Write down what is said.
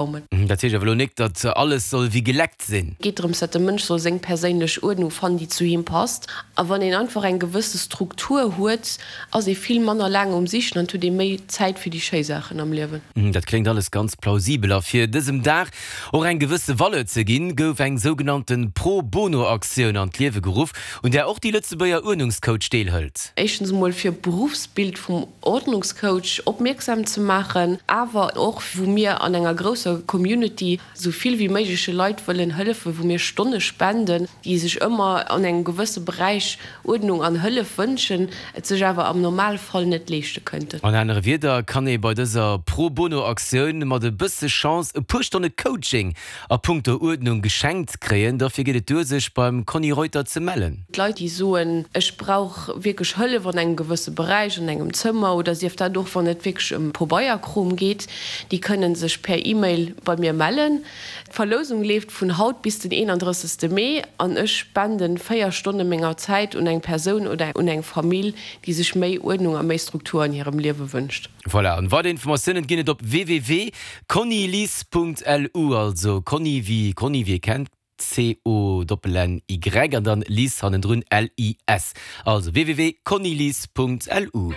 Raumen. Dat heescht awer elo nik, datt alles soll wéi geleckt sinn. Et geet drëms, datt de Mënsch soll seng perséinlech Uerdnung fannen, déi zu him passt. A wann een einfach eng gewësse Struktur huet, ass ee vill manner laang um Sichen an et huet ee méi Zäit fir déi schéi Saachen am Liewen. Dat kléngt alles ganz plausibel. A fir dësem Dag och eng gewësse Valeur ze ginn, gouf eng sougenannte Pro-Bono-Aktioun an d'Liewe geruff, un där och déi Lëtzebuerger Uerdnungscoach deelhëlt. Éischtens emol fir d'Beruffsbild vum Ordnungscoach opmierksam ze maachen, awer och wou mir an enger grousser Community sou vill wéi méigleche Leit wëllen hëllefen, wou mir Stonne spenden, déi sech ëmmer an engem gewësse Beräich Uerdnung an Hëllef wënschen, et sech awer am Normalfall net leeschte kënnten. An anere Wierder kann ee bei dëser Pro-Bono-Aktioun mat e bësse Chance e puer Stonne Coaching A punkto Uerdnung geschenkt kréien, dofir geet et duer sech beim Conny Reuter ze mellen. D'Leit déi soen, ech brauch wierklech Hëllef an engem gewësse Beräich, an engem Zëmmer oder sief dat och wann et wierklech ëm Pobeierkrom geet, déi kënnen sech per E-Mail bei mir mellen. D'Verlousung leeft vun haut bis den 31 Mee an ech spenden 4 Stonne menger Zäit un eng Persoun oder un eng Famill, déi sech méi Uerdnung a méi Struktur an hirem Liewe wënscht. Voilà, an weider Informatiounen ginn et op www.connylis.lu, also Conny wéi Conny wéi ee kennt, C-O-N-N-Y an dann Lis hannendrun L-I-S. Also www.connylis.lu.